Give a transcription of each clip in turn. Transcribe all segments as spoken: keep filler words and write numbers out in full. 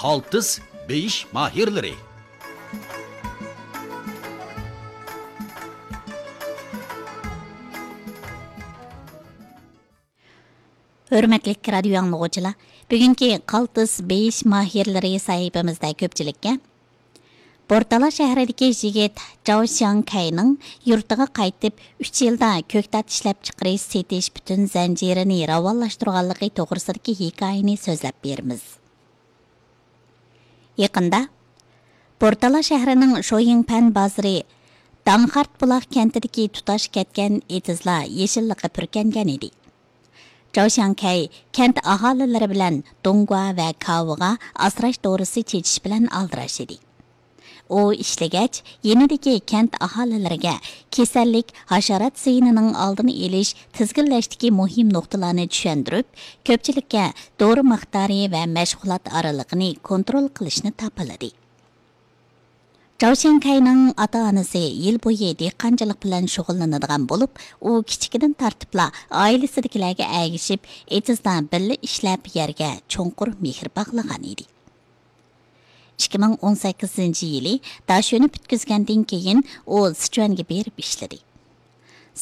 قالتىس بېيىش ماھىرلىرى. ھۆرمەتلىك رادىيو ئاڭلىغۇچىلار، بۈگۈنكى قالتىس بېيىش ماھىرلىرى سەھىپىمىزدە كۆپچىلىككە بورتالا شەھىرىدىكى يىگىت جاۋ شياڭكەينىڭ يۇرتىغا قايتىپ، ئۈچ يىلدا كۆكتات ئىشلەپچىقىرىش، سېتىش پۈتۈن زەنجىرىنى راۋانلاشتۇرغانلىقى توغرىسىدىكى ھېكايىنى سۆزلەپ بېرىمىز. يېقىندا بورتالا شەھىرىنىڭ شويىڭپەن بازىرى داڭخارت بۇلاق كەنتىدىكى تۇتاش كەتكەن ئېتىزلار يېشىللىققا پۈركەنگەن ئىدى. جاۋ شياڭكەي كەنت ئاھالىلىرى بىلەن دۇڭگۇا ۋە كاۋىغا ئاسراش دورىسى چېچىش بىلەن ئالدىراش ئىدى. ئۇ ئىشلىگەچ، يېنىدىكى كەنت ئاھالىلىرىگە كېسەللىك، ھاشارات زىيىنىنىڭ ئالدىنى ئېلىش، تىزگىنلەشتىكى مۇھىم نۇقتىلارنى چۈشەندۈرۈپ، كۆپچىلىككە دورا مىقدارى ۋە مەشغۇلات ئارىلىقىنى كونترول قىلىشنى تاپىلىدى. جاۋ شياڭكەينىڭ ئاتا-ئانىسى يىل بويى دېھقانچىلىق بىلەن شۇغۇللىنىدىغان بولۇپ، ئۇ كىچىكىدىن تارتىپلا ئائىلىسىدىكىلەرگە ئەگىشىپ، ئېتىزدا بىللە ئىشلەپ، يەرگە چوڭقۇر مېھىر باغلىغان ئىدى. ئىككى مىڭ ئون سەككىزىنچى يىلى داشۆنى پۈتكۈزگەندىن كېيىن، ئۇ سىچۈەنگە بېرىپ ئىشلىدى.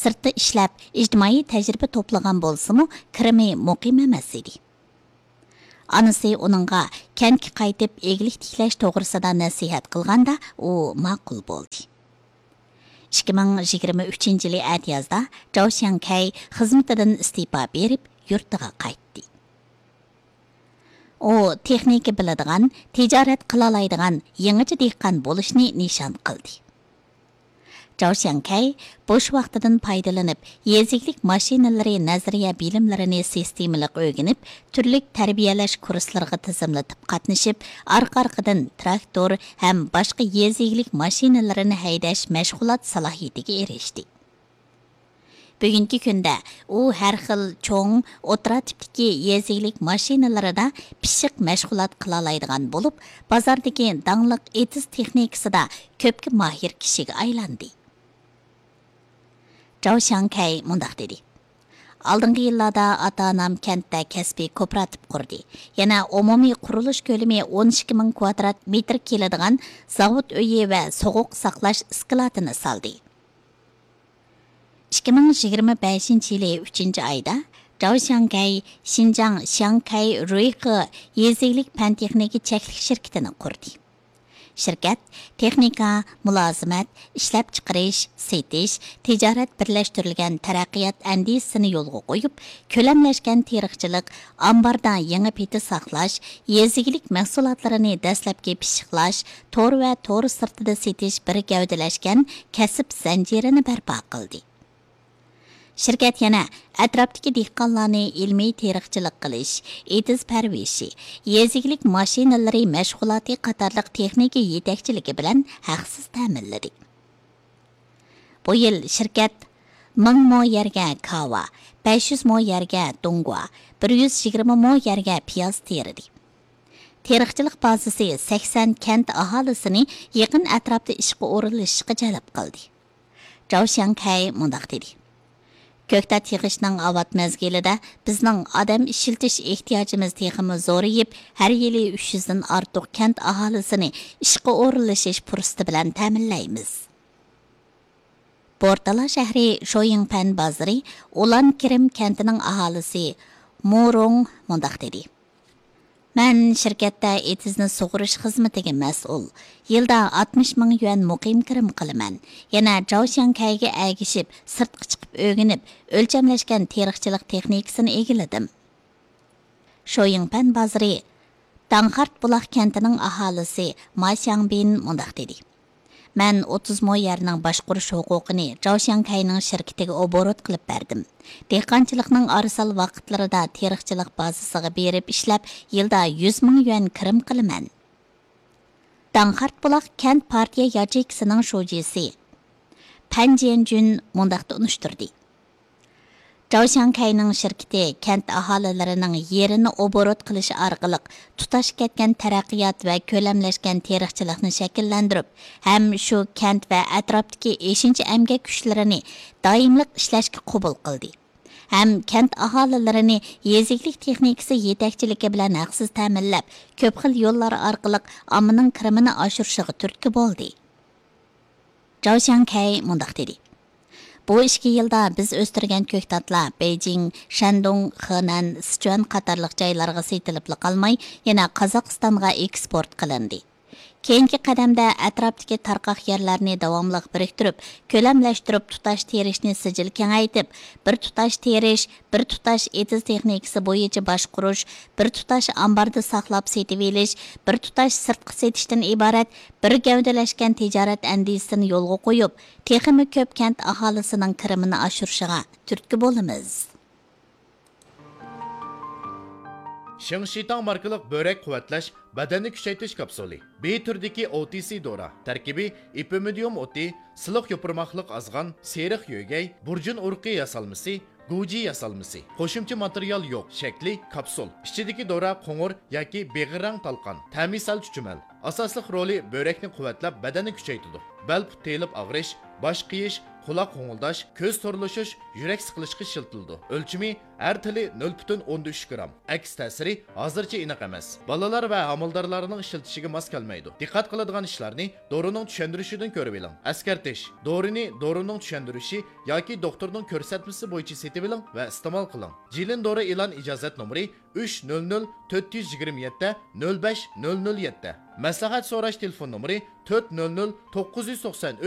سىرتتا ئىشلەپ، ئىجتىمائىي تەجرىبە توپلىغان بولسىمۇ، كىرىمى مۇقىم ئەمەس ئىدى. ئانىسى ئۇنىڭغا كەنتكە قايتىپ ئىگىلىك تىكلەش توغرىسىدا نەسىھەت قىلغاندا، ئۇ ماقۇل بولدى. ئىككى مىڭ يىگىرمە ئۈچىنچى يىلى ئەتىيازدا جاۋ شياڭكەي خىزمىتىدىن ئىستېپا بېرىپ، يۇرتىغا قايتتى. ئۇ تېخنىكا بىلىدىغان، تىجارەت قىلالايدىغان يېڭىچە دېھقان بولۇشنى نىشان قىلدى. جاۋ شياڭكەي بوش ۋاقتىدىن پايدىلىنىپ، يېزا ئىگىلىك ماشىنىلىرى نەزەرىيە بىلىملىرىنى سىستېمىلىق ئۆگىنىپ، تۈرلۈك تەربىيەلەش كۇرسلىرىغا تىزىملىتىپ قاتنىشىپ، ئارقا-ئارقىدىن تىراكتور ھەم باشقا يېزا ئىگىلىك ماشىنىلىرىنى ھەيدەش مەشغۇلات سالاھىيىتىگە ئېرىشتى. بۈگۈنكى كۈندە ئۇ ھەر خىل چوڭ، ئوتتۇرا تىپتىكى يېزا ئىگىلىك ماشىنىلىرىدا پىششىق مەشغۇلات قىلالايدىغان بولۇپ، بازاردىكى داڭلىق ئېتىز تېخنىكىسىدا كۆپكە ماھىر كىشىگە ئايلاندى. جاۋ شياڭكەي مۇنداق دېدى: «ئالدىنقى يىللاردا ئاتا-ئانام كەنتتە كەسپىي كوپىراتىپ قۇردى. يەنە ئومۇمىي قۇرۇلۇش كۆلىمى ئون ئىككى مىڭ كۋادرات مېتىر كېلىدىغان زاۋۇت ئۆيى ۋە سوغۇق ساقلاش ئىسكىلاتىنى سالدى.» ئىككى مىڭ يىگىرمە بەشىنچى يىلى ئۈچىنچى ئايدا جاۋ شياڭكەي شىنجاڭ شياڭكەي رۇيخې يېزا ئىگىلىك پەن تېخنىكا چەكلىك شىركىتىنى قۇردى. شىركەت تېخنىكا، مۇلازىمەت، ئىشلەپچىقىرىش، سېتىش، تىجارەت بىرلەشتۈرۈلگەن تەرەققىيات ئەندىزىسىنى يولغا قويۇپ، كۆلەملەشكەن تېرىقچىلىق، ئامباردا يېڭى پىتى ساقلاش، يېزا ئىگىلىك مەھسۇلاتلىرىنى دەسلەپكى پىششىقلاش، تور ۋە تور سىرتىدا سېتىش بىر گەۋدىلەشكەن كەسىپ زەنجىرىنى بەرپا قىلدى. شىركەت يەنە ئەتراپتىكى دېھقانلارنى ئىلمىي تېرىقچىلىق قىلىش، ئېتىز پەرۋىشى، يېزا ئىگىلىك ماشىنىلىرى مەشغۇلاتى قاتارلىق تېخنىكا يېتەكچىلىكى بىلەن ھەقسىز تەمىنلىدى. بۇ يىل شىركەت مىڭ مو يەرگە كاۋا، بەش يۈز مو يەرگە دۇڭگۇا، بىر يۈز يىگىرمە مو يەرگە پىياز تېرىدى. تېرىقچىلىق بازىسى سەكسەن كەنت ئاھالىسىنى يېقىن ئەتراپتا ئىشقا ئورۇنلىشىشقا جەلپ قىلدى. جاۋ شياڭكەي مۇنداق دېدى: «كۆكتات يىغىشنىڭ ئاۋات مەزگىلىدە بىزنىڭ ئادەم ئىشلىتىش ئېھتىياجىمىز تېخىمۇ زورىيىپ، ھەر يىلى ئۈچ يۈزدىن ئارتۇق كەنت ئاھالىسىنى ئىشقا ئورۇنلىشىش پۇرسىتى بىلەن تەمىنلەيمىز.» بورتالا شەھىرى شويىڭپەن بازىرى ئۇلان كىرىم كەنتىنىڭ ئاھالىسى مۇ رۇڭ مۇنداق دېدى: «مەن شىركەتتە ئېتىزنى سۇغىرىش خىزمىتىگە مەسئۇل. يىلدا ئاتمىش مىڭ يۈەن مۇقىم كىرىم قىلىمەن. يەنە جاۋ شياڭكەيگە ئەگىشىپ، سىرتقا چىقىپ ئۆگىنىپ، ئۆلچەملەشكەن تېرىقچىلىق تېخنىكىسىنى ئىگىلىدىم.» شويىڭپەن بازىرى داڭخارت بۇلاق كەنتىنىڭ ئاھالىسى ما شياڭبىن مۇنداق دېدى: «مەن ئوتتۇز مو يەرنىڭ باشقۇرۇش ھوقۇقىنى جاۋ شياڭكەينىڭ شىركىتىگە ئوبوروت قىلىپ بەردىم. دېھقانچىلىقنىڭ ئارىسال ۋاقىتلىرىدا تېرىقچىلىق بازىسىغا بېرىپ ئىشلەپ، يىلدا يۈز مىڭ يۈەن كىرىم قىلىمەن.» داڭخارت بۇلاق كەنت پارتىيە ياچېيكىسىنىڭ شۇجىسى پەن جيەنجۈن مۇنداق تونۇشتۇردى: «جاۋ شياڭكەينىڭ شىركىتى كەنت ئاھالىلىرىنىڭ يېرىنى ئوبوروت قىلىش ئارقىلىق تۇتاش كەتكەن تەرەققىيات ۋە كۆلەملەشكەن تېرىقچىلىقنى شەكىللەندۈرۈپ، ھەم شۇ كەنت ۋە ئەتراپتىكى ئېشىنچا ئەمگەك كۈچلىرىنى دائىملىق ئىشلەشكە قوبۇل قىلدى. ھەم كەنت ئاھالىلىرىنى يېزا ئىگىلىك تېخنىكىسى يېتەكچىلىكى بىلەن ھەقسىز تەمىنلەپ، كۆپ خىل يوللار ئارقىلىق ئاممىنىڭ كىرىمىنى ئاشۇرۇشىغا تۈرتكە بولدى. جاۋ شياڭكەي مۇنداق دېدى: بۇ ئىككى يىلدا بىز ئۆستۈرگەن كۆكتاتلار بېيجىڭ، شەندۇڭ، خېنەن، سىچۈەن قاتارلىق جايلارغا سېتىلىپلا قالماي، يەنە قازاقىستانغا ئېكسپورت قىلىندى. كېيىنكى قەدەمدە ئەتراپتىكى تارقاق يەرلەرنى داۋاملىق بىرىكتۈرۈپ، كۆلەملەشتۈرۈپ، تۇتاش تېرىشنى سىجىل كېڭەيتىپ، بىر تۇتاش تېرىش، بىر تۇتاش ئېتىز تېخنىكىسى بويىچە باشقۇرۇش، بىر تۇتاش ئامباردا ساقلاپ سېتىۋېلىش، بىر تۇتاش سىرتقا سېتىشتىن ئىبارەت بىر گەۋدىلەشكەن تىجارەت ئەندىزىسىنى يولغا قويۇپ، تېخىمۇ كۆپ كەنت ئاھالىسىنىڭ كىرىمىنى ئاشۇرۇشىغا تۈرتكە بولىمىز. شىڭشىتاڭ ماركىلىق بۆرەك قۇۋۋەتلەش، بەدەننى كۈچەيتىش كاپسۇلى. بى تۈرىدىكى ئو تى سى دورا. تەركىبى ئېپىمىدىيۇم ئوتى، سىلىق يوپۇرماقلىق ئازغان، سېرىق يۆگەي، بۇرجۇن ئۇرۇقى ياسالمىسى، گۇجى ياسالمىسى. قوشۇمچە ماتېرىيال يوق. شەكلى كاپسۇل. ئىچىدىكى دورا قوڭۇر ياكى بېغىر رەڭ تالقان. تەمى سەل چۈچۈمەل. ئاساسلىق رولى بۆرەكنى قۇۋۋەتلەپ، بەدەننى كۈچەيتىدۇ. بەل پۇت تېيىلىپ ئاغرىش، باش قېيىش، قۇلاق غوڭۇلداش، كۆز تورلىشىش، يۈرەك سىقىلىشقا ئىشلىتىلىدۇ. ئۆلچىمى ھەر تىلى نۆل پۈتۈن ئوندىن ئۈچ گرام. ئەكس تەسىرى ھازىرچە ئېنىق ئەمەس. بالىلار ۋە ھامىلىدارلارنىڭ ئىشلىتىشىگە ماس كەلمەيدۇ. دىققەت قىلىدىغان ئىشلارنى دورىنىڭ چۈشەندۈرۈشىدىن كۆرۈۋېلىڭ. ئەسكەرتىش: دورىنى دورىنىڭ چۈشەندۈرۈشى ياكى دوختۇرنىڭ كۆرسەتمىسى بويىچە سېتىۋېلىڭ ۋە ئىستېمال قىلىڭ. جىلىن دورا ئېلان ئىجازەت نومۇرى ئۈچ نۆل نۆل تۆت يۈز يىگىرمە يەتتە نۆل بەش نۆل نۆل يەتتە. مەسلىھەت سوراش تېلېفون نومۇرى تۆت نۆل نۆل توققۇز يۈز توقسان